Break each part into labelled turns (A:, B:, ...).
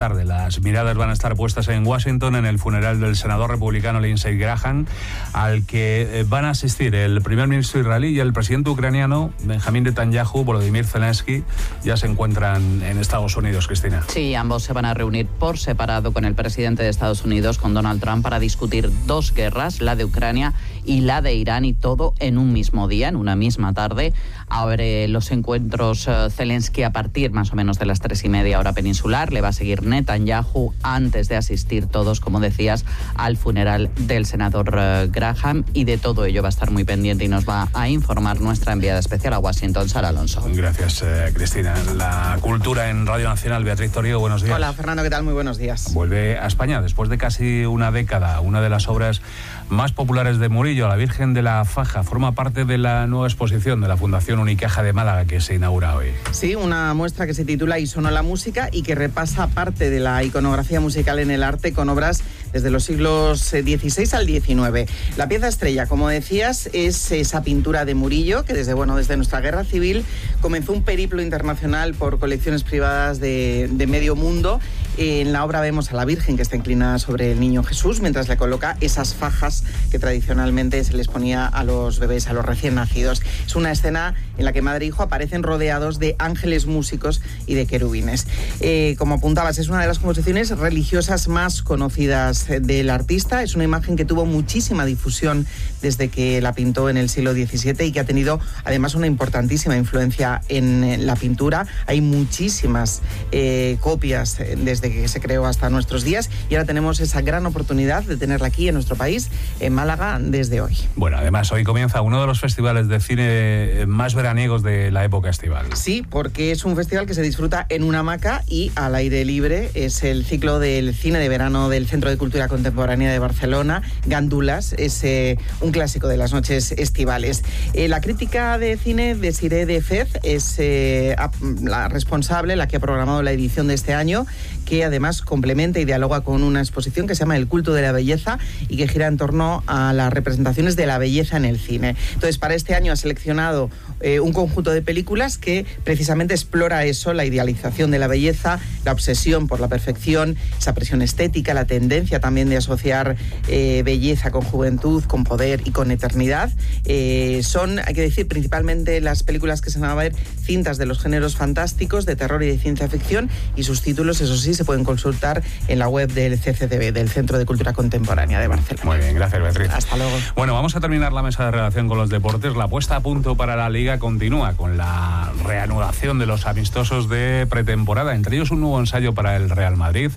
A: Tarde. Las miradas van a estar puestas en Washington en el funeral del senador republicano Lindsey Graham, al que van a asistir el primer ministro israelí y el presidente ucraniano Benjamín Netanyahu. Volodymyr Zelensky ya se encuentran en Estados Unidos, Cristina.
B: Sí, ambos se van a reunir por separado con el presidente de Estados Unidos, con Donald Trump, para discutir dos guerras, la de Ucrania y la de Irán, y todo en un mismo día, en una misma tarde. Abre los encuentros Zelensky a partir más o menos de las 3:30 hora peninsular. Le va a seguir Netanyahu antes de asistir todos, como decías, al funeral del senador Graham, y de todo ello va a estar muy pendiente y nos va a informar nuestra enviada especial a Washington, Sara Alonso.
A: Gracias, Cristina. La cultura en Radio Nacional, Beatriz Torío, buenos días.
C: Hola, Fernando, ¿qué tal? Muy buenos días.
A: Vuelve a España después de casi una década. Una de las obras más populares de Murillo, La Virgen de la Faja, forma parte de la nueva exposición de la Fundación Unicaja de Málaga, que se inaugura hoy.
C: Sí, una muestra que se titula Y sonó la música y que repasa parte de la iconografía musical en el arte con obras desde los siglos XVI al XIX. La pieza estrella, como decías, es esa pintura de Murillo que desde nuestra guerra civil comenzó un periplo internacional por colecciones privadas de medio mundo. En la obra vemos a la Virgen que está inclinada sobre el niño Jesús mientras le coloca esas fajas que tradicionalmente se les ponía a los bebés, a los recién nacidos. Es una escena en la que madre e hijo aparecen rodeados de ángeles músicos y de querubines. Como apuntabas, es una de las composiciones religiosas más conocidas del artista. Es una imagen que tuvo muchísima difusión desde que la pintó en el siglo XVII y que ha tenido además una importantísima influencia en la pintura. Hay muchísimas copias desde que se creó hasta nuestros días, y ahora tenemos esa gran oportunidad de tenerla aquí en nuestro país, en Málaga, desde hoy.
A: Bueno, además hoy comienza uno de los festivales de cine más veraniegos de la época estival.
C: Sí, porque es un festival que se disfruta en una hamaca y al aire libre. Es el ciclo del cine de verano del Centro de Cultura Contemporánea de Barcelona, Gándulas. Es un clásico de las noches estivales. La crítica de cine de Siré de Fez es la responsable, la que ha programado la edición de este año, que además complementa y dialoga con una exposición que se llama El culto de la belleza y que gira en torno a las representaciones de la belleza en el cine. Entonces, para este año ha seleccionado un conjunto de películas que precisamente explora eso, la idealización de la belleza, la obsesión por la perfección, esa presión estética, la tendencia también de asociar belleza con juventud, con poder y con eternidad. Son, hay que decir, principalmente las películas que se van a ver cintas de los géneros fantásticos, de terror y de ciencia ficción, y sus títulos, eso sí, se pueden consultar en la web del CCDB, del Centro de Cultura Contemporánea de Barcelona.
A: Muy bien, gracias, Beatriz.
C: Hasta luego.
A: Bueno, vamos a terminar la mesa de redacción con los deportes. La puesta a punto para la Liga continúa con la reanudación de los amistosos de pretemporada, entre ellos un nuevo ensayo para el Real Madrid,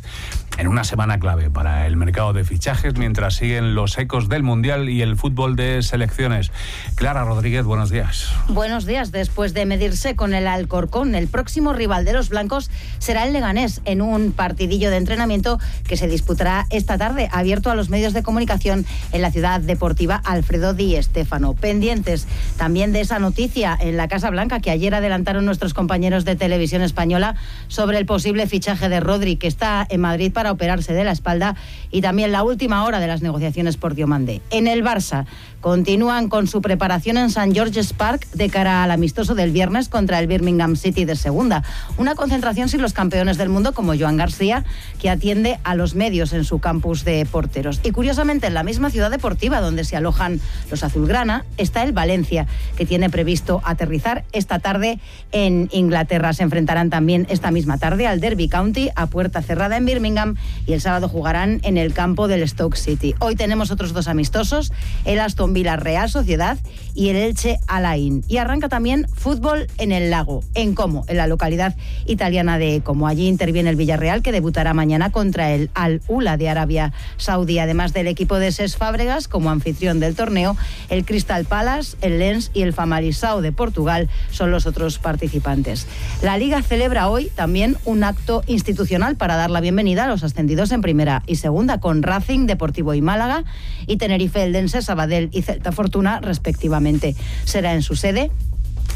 A: en una semana clave para el mercado de fichajes, mientras siguen los ecos del Mundial y el fútbol de selecciones. Clara Rodríguez, buenos días.
D: Buenos días. Después de medirse con el Alcorcón, el próximo rival de los blancos será el Leganés, en un partidillo de entrenamiento que se disputará esta tarde, abierto a los medios de comunicación en la ciudad deportiva Alfredo Di Stéfano. Pendientes también de esa noticia en la Casa Blanca que ayer adelantaron nuestros compañeros de Televisión Española sobre el posible fichaje de Rodri, que está en Madrid para operarse de la espalda, y también la última hora de las negociaciones por Diomande. En el Barça continúan con su preparación en St. George's Park de cara al amistoso del viernes contra el Birmingham City de segunda. Una concentración sin los campeones del mundo como Joan García, que atiende a los medios en su campus de porteros. Y curiosamente, en la misma ciudad deportiva donde se alojan los azulgrana está el Valencia, que tiene previsto aterrizar esta tarde en Inglaterra. Se enfrentarán también esta misma tarde al Derby County a puerta cerrada en Birmingham, y el sábado jugarán en el campo del Stoke City. Hoy tenemos otros dos amistosos, el Aston Villa Real Sociedad y el Elche Alain. Y arranca también fútbol en el Lago, en Como, en la localidad italiana de Como. Allí interviene el Villarreal, que debutará mañana contra el Al-Ula de Arabia Saudí. Además del equipo de Cesc Fábregas como anfitrión del torneo, el Crystal Palace, el Lens y el Famalicão de Portugal son los otros participantes. La Liga celebra hoy también un acto institucional para dar la bienvenida a los ascendidos en primera y segunda, con Racing, Deportivo y Málaga, y Tenerife, Eldense, Sabadell y Celta Fortuna respectivamente. Será en su sede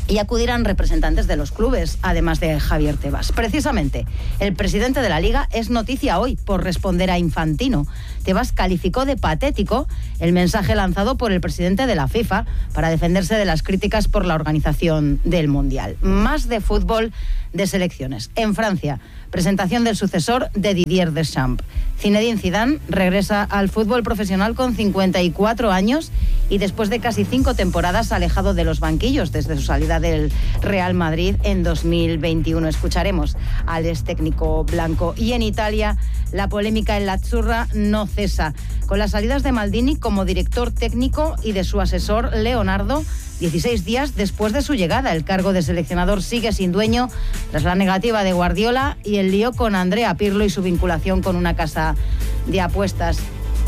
D: y acudirán representantes de los clubes, además de Javier Tebas. Precisamente, el presidente de la Liga es noticia hoy por responder a Infantino. Tebas calificó de patético el mensaje lanzado por el presidente de la FIFA para defenderse de las críticas por la organización del Mundial. Más de fútbol de selecciones. En Francia, presentación del sucesor de Didier Deschamps. Zinedine Zidane regresa al fútbol profesional con 54 años y después de casi 5 temporadas alejado de los banquillos desde su salida del Real Madrid en 2021. Escucharemos al ex técnico blanco. Y en Italia, la polémica en la Azzurra no cesa. Con las salidas de Maldini como director técnico y de su asesor Leonardo, 16 días después de su llegada, el cargo de seleccionador sigue sin dueño tras la negativa de Guardiola y el lío con Andrea Pirlo y su vinculación con una casa de apuestas.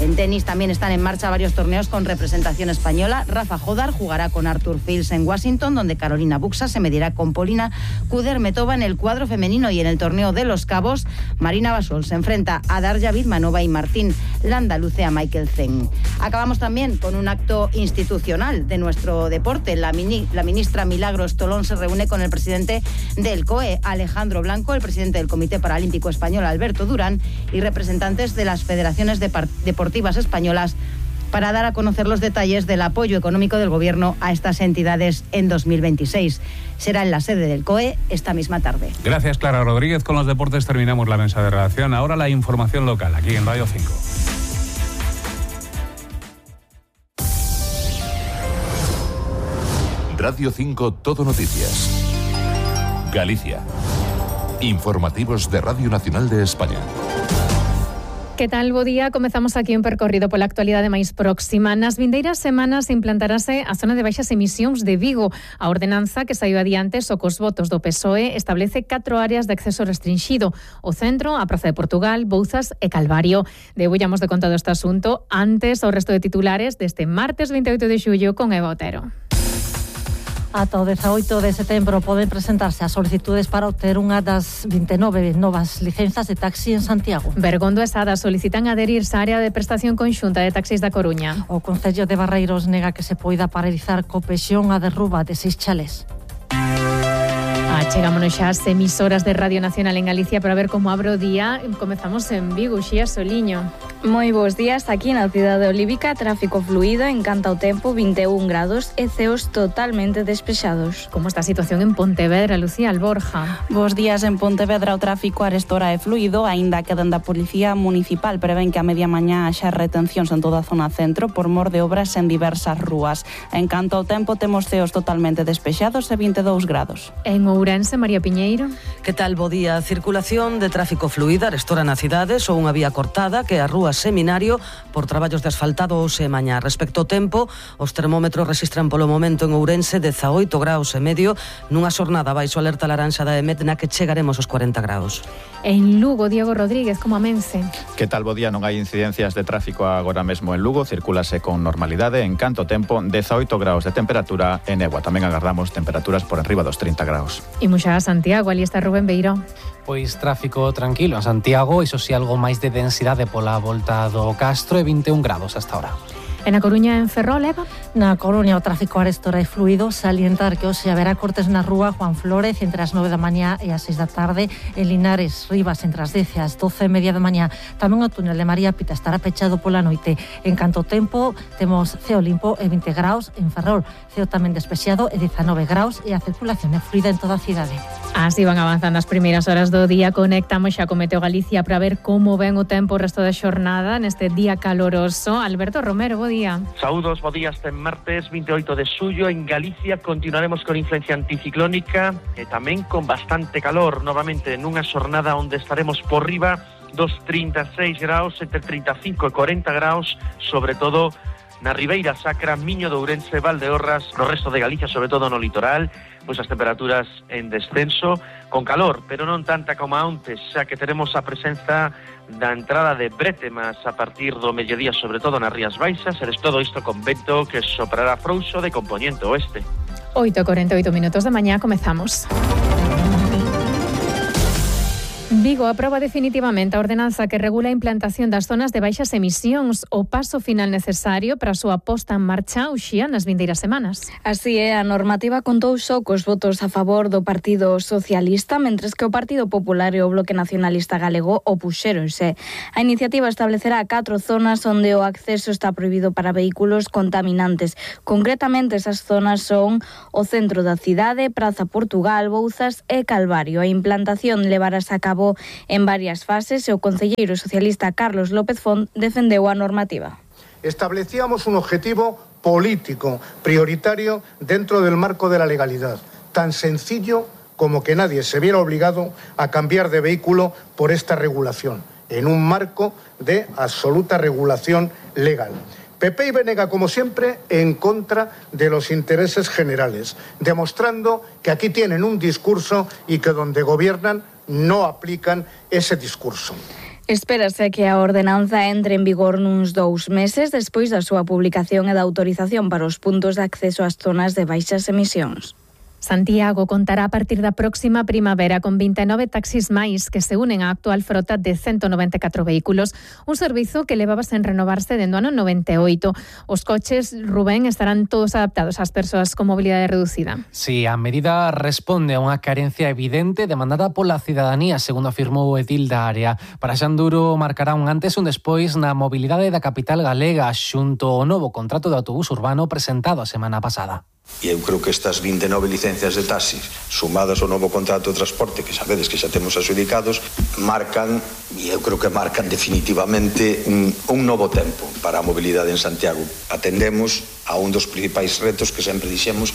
D: En tenis también están en marcha varios torneos con representación española. Rafa Jodar jugará con Arthur Fields en Washington, donde Carolina Buxa se medirá con Polina Kudermetova en el cuadro femenino, y en el torneo de Los Cabos, Marina Basol se enfrenta a Darja Vidmanova y Martín Landaluce a Michael Zeng. Acabamos también con un acto institucional de nuestro deporte. La ministra Milagros Tolón se reúne con el presidente del COE, Alejandro Blanco, el presidente del Comité Paralímpico Español, Alberto Durán, y representantes de las federaciones deportivas españolas para dar a conocer los detalles del apoyo económico del Gobierno a estas entidades en 2026. Será en la sede del COE esta misma tarde.
A: Gracias, Clara Rodríguez. Con los deportes terminamos la mesa de redacción. Ahora la información local, aquí en Radio 5.
E: Radio 5 Todo Noticias. Galicia. Informativos de Radio Nacional de España.
F: Que tal, bo día? Comezamos aquí un percorrido pola actualidade máis próxima. Nas vindeiras semanas implantarase a zona de baixas emisións de Vigo. A ordenanza que saiu adiante só cos votos do PSOE establece 4 áreas de acceso restringido: o centro, a Praza de Portugal, Bouzas e Calvario. Debullamos de contado este asunto antes ao resto de titulares deste martes 28 de xullo con Eva Otero.
G: Ata o 18 de setembro poden presentarse as solicitudes para obter unha das 29 novas licenzas de taxi en Santiago.
F: Bergondo e Sada solicitan adherirse á área de prestación conxunta de taxis da Coruña.
G: O Concello de Barreiros nega que se poida paralizar co pexón a derruba de 6 chalés.
F: Chegámonos xa ás emisoras de Radio Nacional en Galicia para ver como abre o día. Comezamos en Vigo, Xía Soliño.
H: Moi bons días, aquí na cidade olívica, tráfico fluido, encanta o tempo, 21 grados e ceos totalmente despexados.
F: Como está a situación en Pontevedra, Lucía Alborja?
I: Bos días, en Pontevedra o tráfico arestora é fluido, aínda que dende a Policía Municipal prevén que a media mañá haxa retencións en toda a zona centro por mor de obras en diversas rúas. En canto ao tempo, temos ceos totalmente despexados e 22 grados.
F: En Ourense, María Piñeiro.
J: Que tal, bo día? Circulación de tráfico fluida arestora na cidade, só unha vía cortada, que é a rúa Seminario, por traballos de asfaltado hoxe e mañá. Respecto ao tempo, os termómetros registran polo momento en Ourense 18 graus e medio, nunha xornada baixo alerta laranxa da EMET na que chegaremos aos 40 graus.
F: En Lugo, Diego Rodríguez, como amense?
K: Que tal, bo día? Non hai incidencias de tráfico agora mesmo en Lugo, circúlase con normalidade. En canto tempo, 18 graus de temperatura e néboa. Tamén agardamos temperaturas por enriba dos 30 graus.
F: Imos xa a Santiago, ali está Rubén Beiró.
L: Pois tráfico tranquilo en Santiago, iso si algo máis de densidade pola volta do Castro e 21 grados hasta ahora.
F: En A Coruña, en Ferrol, Eva?
G: Na Coruña o tráfico arestora é fluido, salientar que hoxe haberá cortes na rúa Juan Flórez entre as 9 da mañá e as 6 da tarde, en Linares, Rivas entre as 10 e as 12:30 da mañá. Tamén o túnel de María Pita estará pechado pola noite. En canto tempo, temos ceo limpo e 20 graus en Ferrol, ceo tamén despexado e 19 graus e a circulación é fluida en toda a cidade.
F: Así van avanzando as primeiras horas do día. Conectamos xa con Meteo Galicia para ver como ven o tempo o resto da xornada neste día caloroso. Alberto Romero, bo día.
M: Saúdos, bo día. Este martes 28 de xullo en Galicia continuaremos con influencia anticiclónica e tamén con bastante calor, novamente nunha xornada onde estaremos por riba dos 36 graus, entre 35 e 40 graus, sobre todo na Ribeira Sacra, Miño de Ourense, Valdeorras, no resto de Galicia, sobre todo no litoral, pois as temperaturas en descenso, con calor, pero non tanta como antes, xa que teremos a presenza da entrada de brétemas a partir do mediodía, sobre todo nas Rías Baixas, eres todo isto con vento que soprará frouxo de compoñente oeste.
F: 8:48 minutos da mañá, comezamos. Vigo aproba definitivamente a ordenanza que regula a implantación das zonas de baixas emisións, o paso final necesario para a súa posta en marcha uxía nas vindeiras semanas.
H: Así é, a normativa contou só cos votos a favor do Partido Socialista, mentres que o Partido Popular e o Bloque Nacionalista Galego opuxéronse. A iniciativa establecerá 4 zonas onde o acceso está prohibido para vehículos contaminantes. Concretamente, esas zonas son o centro da cidade, Praza Portugal, Bouzas e Calvario. A implantación levarase a cabo en varias fases e o concelleiro socialista Carlos López Font defendeu a normativa.
N: Establecíamos un objetivo político prioritario dentro del marco de la legalidad, tan sencillo como que nadie se viera obligado a cambiar de vehículo por esta regulación, en un marco de absoluta regulación legal. PP y Venega, como siempre, en contra de los intereses generales, demostrando que aquí tienen un discurso y que donde gobiernan no aplican ese discurso.
H: Espérase que a ordenanza entre en vigor nuns 2 meses despois da súa publicación e da autorización para os puntos de acceso ás zonas de baixas emisións.
F: Santiago contará a partir da próxima primavera con 29 taxis máis que se unen á actual frota de 194 vehículos, un servizo que levaba sen renovarse dende o ano 98. Os coches, Rubén, estarán todos adaptados ás persoas con mobilidade reducida.
L: Sí, a medida responde a unha carencia evidente demandada pola cidadanía, segundo afirmou o edil da área. Para Xanduro marcará un antes e un despois na mobilidade da capital galega xunto ao novo contrato de autobús urbano presentado a semana pasada.
O: E eu creo que estas 29 licencias de taxis sumadas ao novo contrato de transporte que sabedes que xa temos adxudicados marcan, e eu creo que marcan definitivamente un novo tempo para a mobilidade en Santiago. Atendemos a un dos principais retos que sempre dixemos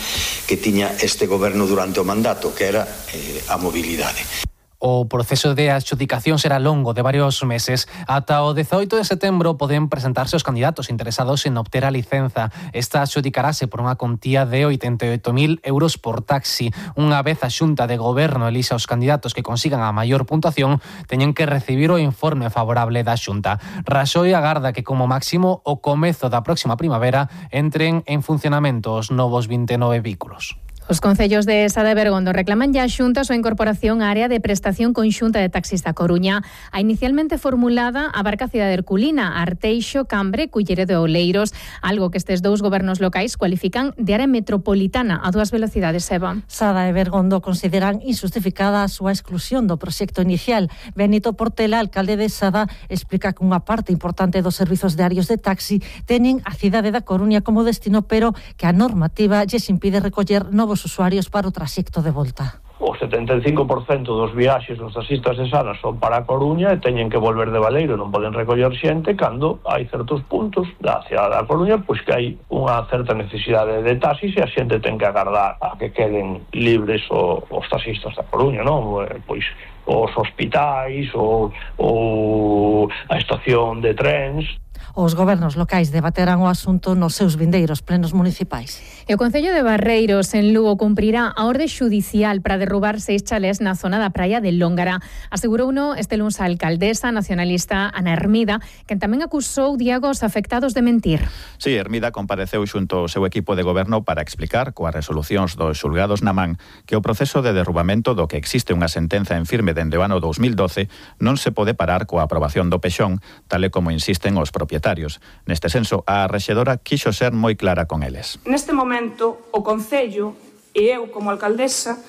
O: que tiña este goberno durante o mandato, que era a mobilidade.
L: O proceso de adxudicación será longo, de varios meses. Ata o 18 de setembro poden presentarse os candidatos interesados en obter a licenza. Esta adxudicarase por unha contía de 88.000 euros por taxi. Unha vez a Xunta de Goberno elixa os candidatos que consigan a maior puntuación, teñen que recibir o informe favorable da Xunta. Raxoi agarda que como máximo o comezo da próxima primavera entren en funcionamento os novos 29 vehículos.
F: Os concellos de Sada e Bergondo reclaman ya a Xunta a súa incorporación á área de prestación conxunta de taxis da Coruña. A inicialmente formulada abarca a cidade herculina, Arteixo, Cambre, Culleredo e Oleiros, algo que estes dous gobernos locais cualifican de área metropolitana a 2 velocidades, Eva.
G: Sada e Bergondo consideran injustificada a súa exclusión do proxecto inicial. Benito Portela, alcalde de Sada, explica que unha parte importante dos servizos diarios de taxi teñen a cidade da Coruña como destino, pero que a normativa lles impide recoller novos usuarios para o traxecto de volta.
P: O 75% dos viaxes dos taxistas de Sada son para a Coruña e teñen que volver de Baleiro, non poden recoller xente cando hai certos puntos da cidade da Coruña pois que hai unha certa necesidade de taxis e a xente ten que agardar a que queden libres os taxistas da Coruña, non? Pois os hospitais ou a estación de trens.
G: Os gobernos locais debaterán o asunto nos seus vindeiros plenos municipais.
F: E o Concello de Barreiros, en Lugo, cumprirá a orde xudicial para derrubar 6 chalés na zona da praia de Lóngara. Asegurou uno este luns a alcaldesa nacionalista Ana Hermida, que tamén acusou Diego os afectados de mentir.
K: Sí, Hermida compareceu xunto ao seu equipo de goberno para explicar coas resolucións dos xulgados na man que o proceso de derrubamento do que existe unha sentenza en firme dende o ano 2012 non se pode parar coa aprobación do pexón, tal e como insisten os propietarios. Neste senso, a rexedora quixo ser moi clara con eles.
Q: Neste momento, o Concello e eu como alcaldesa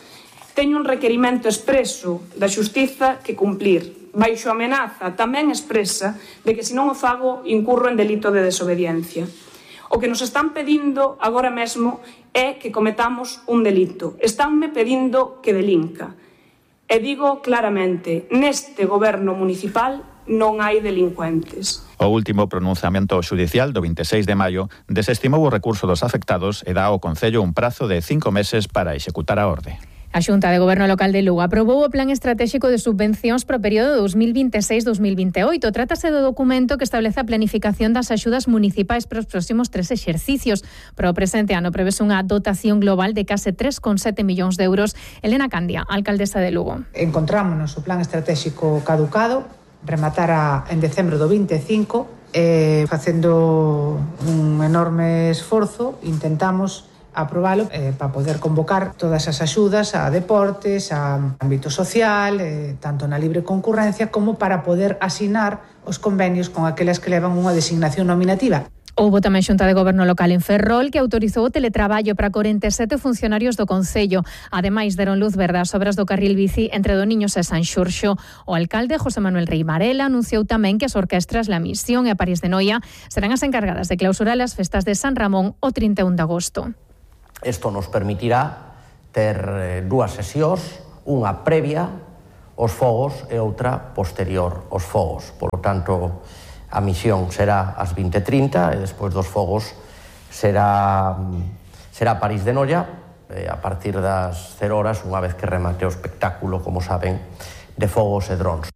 Q: teño un requerimento expreso da xustiza que cumplir, baixo amenaza tamén expresa de que se non o fago incurro en delito de desobediencia. O que nos están pedindo agora mesmo é que cometamos un delito. Estánme pedindo que delinca. E digo claramente, neste goberno municipal non hai delincuentes.
K: O último pronunciamento xudicial do 26 de maio desestimou o recurso dos afectados e dá ao Concello un prazo de 5 meses para executar a orde.
F: A Xunta de Goberno Local de Lugo aprobou o Plan Estratéxico de Subvencións para o período 2026-2028. Trátase do documento que establece a planificación das axudas municipais para os próximos 3 exercicios. Para o presente ano prevese unha dotación global de case 3,7 millóns de euros. Elena Candia, alcaldesa de Lugo.
R: Encontrámonos o Plan Estratéxico caducado, rematara en decembro do 25, facendo un enorme esforzo, intentamos aprobalo para poder convocar todas as axudas a deportes, a ámbito social, tanto na libre concurrencia como para poder asinar os convenios con aquelas que levan unha designación nominativa.
F: Houbo tamén xunta de goberno local en Ferrol que autorizou o teletraballo para 47 funcionarios do Concello. Ademais, deron luz verde ás obras do carril bici entre Doniños e San Xurxo. O alcalde José Manuel Rei Varela anunciou tamén que as orquestras La Misión e a París de Noia serán as encargadas de clausurar as festas de San Ramón o 31 de agosto.
S: Isto nos permitirá ter dúas sesións, unha previa aos fogos e outra posterior aos fogos. Por lo tanto, a misión será ás 20:30 e despois dos fogos será París de Noia a partir das 0 horas, unha vez que remate o espectáculo, como saben, de fogos e drons.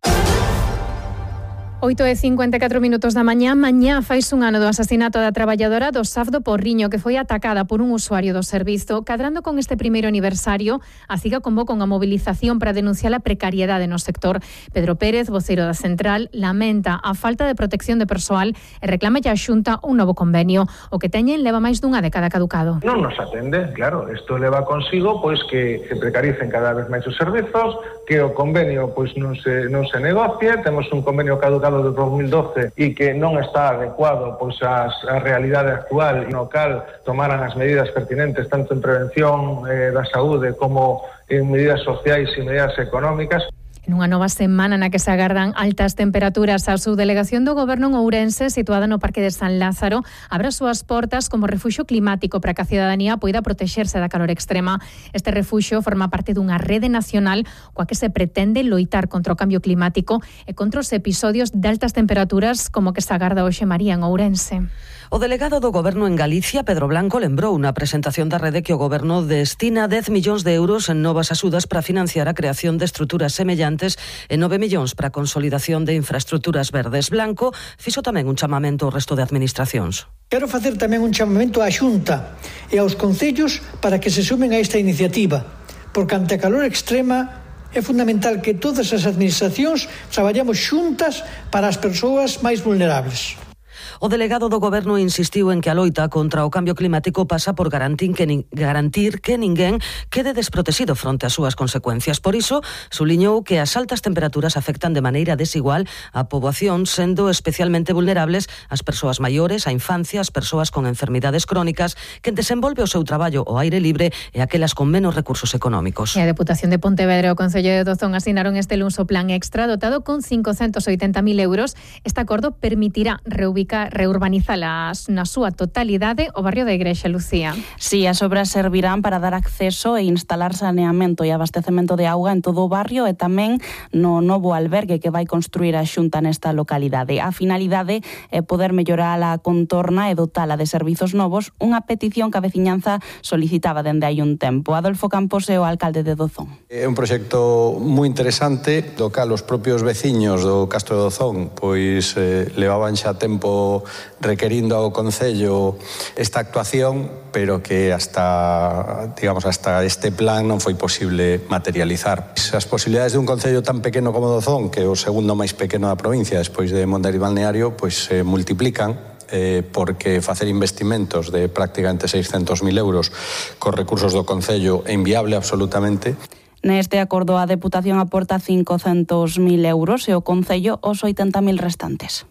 F: 8:54 da mañá faise un ano do asasinato da traballadora do SAF do Porriño, que foi atacada por un usuario do servizo. Cadrando con este primeiro aniversario, a CIGA convoca unha movilización para denunciar a precariedade no sector. Pedro Pérez, voceiro da central, lamenta a falta de protección de persoal e reclama a Xunta un novo convenio. O que teñen leva máis dunha década caducado.
T: Non nos atende, claro, isto leva consigo pois que se precaricen cada vez máis os servizos, que o convenio pois non se negocie, temos un convenio caducado do 2012 e que non está adecuado pois á realidade actual, no cal tomaran as medidas pertinentes tanto en prevención da saúde como en medidas sociais e medidas económicas.
F: Nunha nova semana na que se agardan altas temperaturas, a subdelegación do Goberno en Ourense, situada no Parque de San Lázaro, abre as súas portas como refuxio climático para que a cidadanía poida protexerse da calor extrema. Este refuxio forma parte dunha rede nacional coa que se pretende loitar contra o cambio climático e contra os episodios de altas temperaturas como que se agarda hoxe María en Ourense.
J: O delegado do Goberno en Galicia, Pedro Blanco, lembrou na presentación da rede que o Goberno destina 10 millóns de euros en novas axudas para financiar a creación de estruturas semellantes e 9 millóns para a consolidación de infraestructuras verdes. Blanco fixo tamén un chamamento ao resto de administracións.
U: Quero facer tamén un chamamento á Xunta e aos concellos para que se sumen a esta iniciativa, porque ante a calor extrema é fundamental que todas as administracións traballamos xuntas para as persoas máis vulnerables.
J: O delegado do Goberno insistiu en que a loita contra o cambio climático pasa por garantir que ninguén quede desprotegido fronte ás súas consecuencias. Por iso, subliñou que as altas temperaturas afectan de maneira desigual a poboación, sendo especialmente vulnerables as persoas maiores, a infancia, as persoas con enfermidades crónicas, que desenvolve o seu traballo ao aire libre e aquelas con menos recursos económicos.
F: E a Deputación de Pontevedra e o Concello de Dozón asinaron este luns o plan extra dotado con 580.000 euros. Este acordo permitirá reurbanizar na súa totalidade o barrio da Igrexa, Lucía.
I: Sí, as obras servirán para dar acceso e instalar saneamento e abastecemento de auga en todo o barrio e tamén no novo albergue que vai construir a Xunta nesta localidade. A finalidade é poder mellorar a contorna e dotala de servizos novos, unha petición que a veciñanza solicitaba dende hai un tempo. Adolfo Campos é o alcalde de Dozón.
V: É un proxecto moi interesante, do cal os propios veciños do Castro de Dozón pois levaban xa tempo requerindo ao Concello esta actuación, pero que hasta este plan non foi posible materializar. As posibilidades de un Concello tan pequeno como Dozón, que é o segundo máis pequeno da provincia despois de Mondariz Balneario, pois se multiplican, porque facer investimentos de prácticamente 600.000 euros cos recursos do Concello é inviable absolutamente.
I: Neste acordo a Deputación aporta 500.000 euros e o Concello os 80.000 restantes.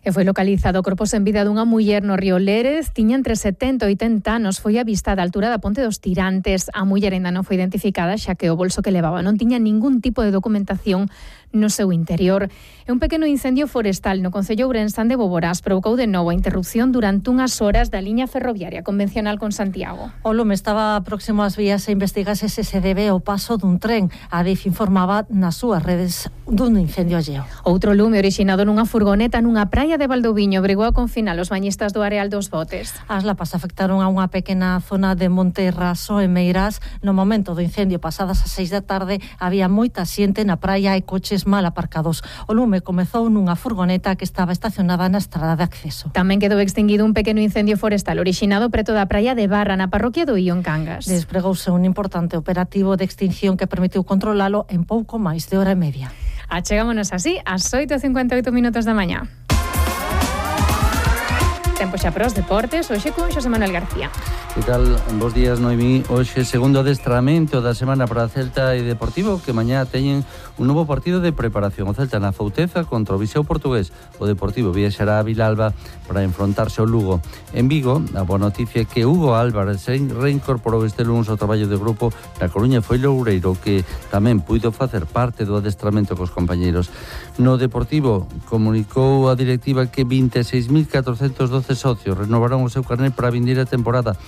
F: E foi localizado o corpo sen vida dunha muller no río Lérez. Tiña entre 70 e 80 anos. Foi avistada a altura da Ponte dos Tirantes. A muller ainda non foi identificada, xa que o bolso que levaba non tiña ningún tipo de documentación no seu interior. E un pequeno incendio forestal no concello ourensán de Boborás provocou de novo a interrupción durante unhas horas da liña ferroviaria convencional con Santiago.
G: O lume estaba próximo ás vías e investigase se se debe ao paso dun tren. A DIF informaba nas súas redes dun incendio alleo.
F: Outro lume orixinado nunha furgoneta nunha praia de Valdoviño obrigou a confinar os bañistas do Areal dos Botes.
G: As lapas afectaron a unha pequena zona de Monte Raso e Meirás. No momento do incendio, pasadas as 6 da tarde, había moita xente na praia e coches mal aparcados. O lume comezou nunha furgoneta que estaba estacionada na estrada de acceso.
F: Tamén quedou extinguido un pequeno incendio forestal orixinado preto da praia de Barra, na parroquia do Ío en Cangas.
G: Despregouse un importante operativo de extinción que permitiu controlalo en pouco máis de hora e media.
F: Achegámonos así ás 8:58 da mañá. Tempo xa para os deportes, hoxe con Xosé Manuel García.
B: Que tal? Bos días, Noemí. Hoxe segundo adestramento da semana para Celta e Deportivo, que mañá teñen un novo partido de preparación. O Celta na Fouteza contra o Viseu portugués. O Deportivo viaxará a Vilalba para enfrontarse ao Lugo. En Vigo, a boa noticia é que Hugo Álvarez se reincorporou este lunes ao traballo de grupo na Coruña. Foi Loureiro que tamén puido facer parte do adestramento cos compañeiros. No Deportivo comunicou a directiva que 26.412 socios renovaron o seu carnet para a vindeira temporada,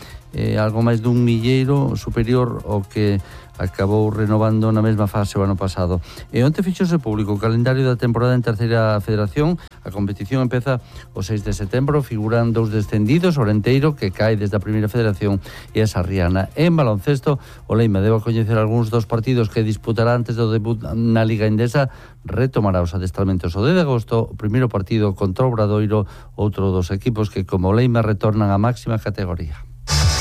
B: algo máis dun milleiro superior ao que acabou renovando na mesma fase o ano pasado. E onte fixose público o calendario da temporada en terceira federación. A competición empeza o 6 de setembro, figuran 2 descendidos, Orenteiro, que cae desde a primeira federación, e a Sarriana. En baloncesto, o Leima debe coñecer algúns dos partidos que disputará antes do debut na Liga Endesa. Retomará os adestramentos o 10 de agosto, o primeiro partido contra o Obradoiro, outro dos equipos que como Leima retornan á máxima categoría.